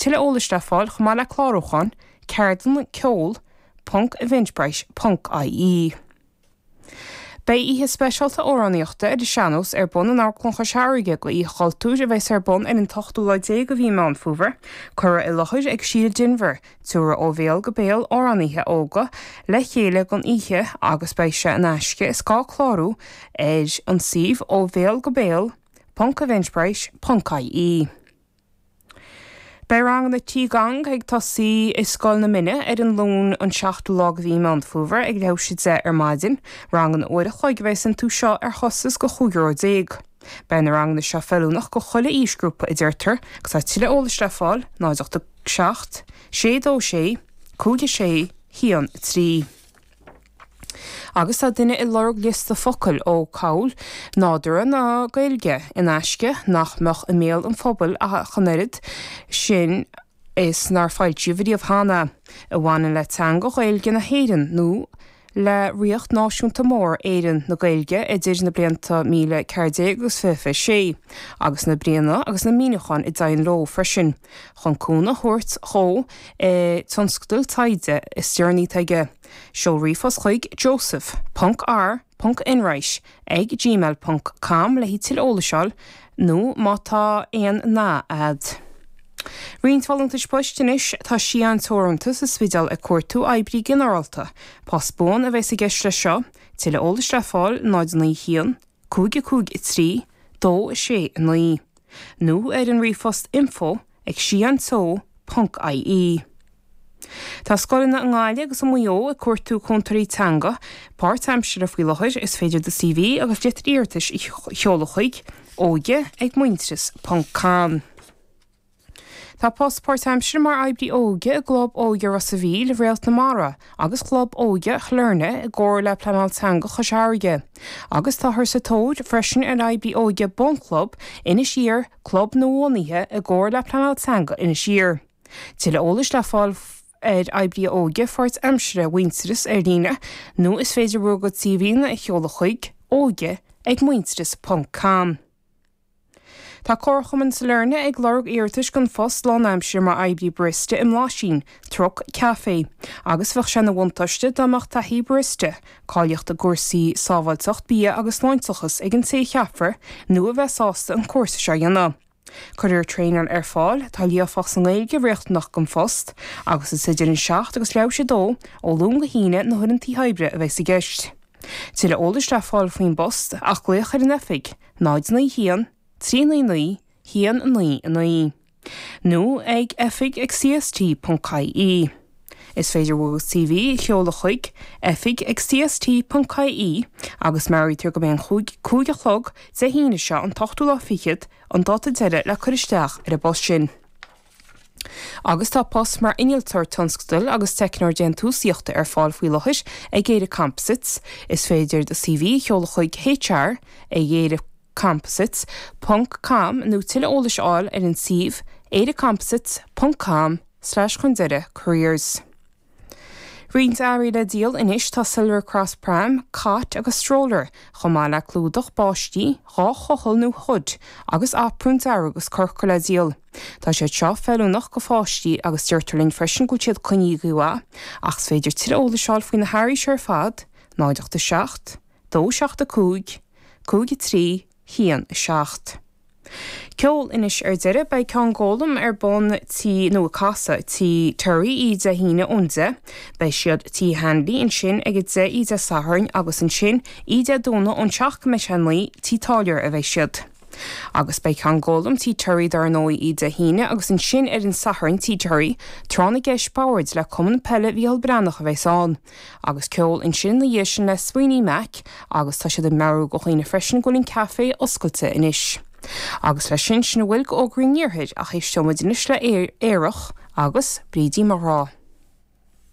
Tuilleadh eolais le fáil chomh maith le clárúchán, ceardlanna ceol ponc eventbrite ponc ie. Beidh oíche speisialta amhránaíochta ar an sean-nós ar bun in Amharclann Chois Fharraige go Oíche Chultúir a bheas ar bun ar an t-ochtú lá déag de mhí Meán Fómhair, curtha i láthair ag Síle Denvir, Tabharfaidh Ó Bhéal go Béal amhránaithe óga le chéile don oíche agus beidh sé in aisce, is gá clárú ar an suíomh ó bhéal go béal ponc eventbrite ponc ie. Beidh ranganna Qi Gong ag tosaí i Scoil na Mine ar an Luan an seachtú lá de mhí Meán Fómhair ag leathuair théis 10 ar maidin. Ranganna uair a chloig a bheas iontu seo ar chostas de €15 euro. Beidh na ranganna seo feiliúnach go chuile aoisghrúpa a deirtear agus tá tuilleadh eolais le fáil 0 8 7 6 2 6 5 6 1 3. Agus tá duine ag lorg liosta focal ó Cabhail Nádúrtha na Gaeilge in aisce nach mbeadh i mbéal an phobail ach an oiread sin is nár foilsíodh riamh cheana, a bhaineann le teanga Ghaeilge na hÉireann nó le ríocht náisiúnta mór Éireann na Gaeilge idir na blianta 1014 agus 2026, agus na bríonna agus na míniúcháin a dtéann leo freisin, chun cúnamh a thabhairt dhó i dtionscadal taighde is deireanaí atá aige. Seol ríomhphost chuig joseph ponc r ponc enright ag gmail ponc com le haghaidh tuilleadh eolais a fháil nó má tá aon nath a'd. Roinnt folúntais poist anois, tá Síon Teoranta sa Spidéal ag cuartú oibrí ginearálta. Post buan a bheas i gceist leis seo. Tuilleadh eolais le fáil 0 9 1 5 5 3 2 6 9 nó ar an ríomhphost info ag síonteo ponc ie. Tá scoileanna i nGaillimh agus i Maigh Eo ag cuartú cúntóirí teanga páirtaimseartha faoi láthair. Is féidir do CV agus litir iarratais a sheoladh chuig óige ag muintearas ponc com. Tá post páirtaimseartha mar oibrí óige i gClub Óige Ros a' Mhíl, Réalt na Mara agus Chlub Óige Shailearna i gcomhar le Pleanáil Teanga Chois Fharraige. Agus táthar sa tóir freisin ar oibrí óige Bunchlub Inis Oírr, club nuabhunaithe i gcomhar le Pleanáil Teanga Inis Oírr. Tuilleadh eolais le fáil ar oibrí óige pháirtaimseartha Mhuintearas ar líne nó is féidir bhur gcuid CVanna a sheoladh chuig óige ag muintearas ponc com. Tá Comharchumann Sailearna ag lorg iarratais don phost lánaimseartha mar oibrí barista i mBlaisín, Truc Café, agus bheadh sé ina bhuntáiste dá mbeadh taithí barista, cáilíocht i gcúrsaí sábháilteacht bia agus sláinteachas ag an té a cheapfar nó a bheas sásta an cúrsa seo a dhéanamh. Cuirfear traenáil ar fáil, tá líofacht sa nGaeilge riachtanach don phost, agus is idir an 7 agus leathuair théis 2 ó Luan go hAoine na huaireanta oibre a bheas i gceist. Tuilleadh eolais le fáil faoin bpost ach glaoch ar an oifig, 0 9 1 3 9 9 1 9 9, nó ag oifig ag cst ponc ie. Is féidir bhur gcuid CV a sheoladh chuig oifig ag cst ponc ie agus meabhraítear go mbeidh an chúig a chlog Dé hAoine seo an t-ochtú lá fichead an dáta deiridh le cur isteach ar an bpost sin. Agus tá post mar innealtóir tionscadail agus teicneoir déantúsaíochta ar fáil faoi láthair ag Éire Composites. Is féidir do CV a sheoladh chuig HR ag eirecomposites ponc com nó tuilleadh eolais a fháil ar an suíomh eirecomposites ponc com slash chun deireadh careers. Roinnt earraí le díol anois tá Silver Cross Pram, Cot agus Stroller, chomh maith le clúdach báistí, 2 chochall nó hood, agus aprún dearg agus corcra le díol. Tá siad seo feiliúnach go pháistí agus deirtear linn freisin go bhfuil siad coinnithe go mhaith, ach is féidir tuilleadh eolais a fháil faoi na hearraí seo ar fad, 0 8 7 2 7 5 5 3 1 7. Ceol anois ar deireadh. Beidh Congolm ar bun tí, nó ag casadh, tí Terry oíche Dé hAoine ón 10. Beidh siad tí Hanley ansin ag a 10 oíche Dé Sathairn agus ansin oíche Dé Domhnaigh ón 7 go mbeidh sé 9 tí Táilliúir a bheidh siad. Agus beidh Congolm tí Terry dar ndóigh oíche Dé hAoine agus ansin ar an Satharn tí Terry, tráth na gceist boird le Cumann Peile Mhícheál Breathnach a bheas ann. Agus ceol ansin ina dhiaidh sin le Sweeney Mac agus tá siad ag meabhrú go dhaoine freisin go bhfuil an caife oscailte anois. Agus leis sin, sin a bhfuil go fhógraí an Iarthair ach éisteoidh muid anois le Aerach agus Brídín mo Ghrá.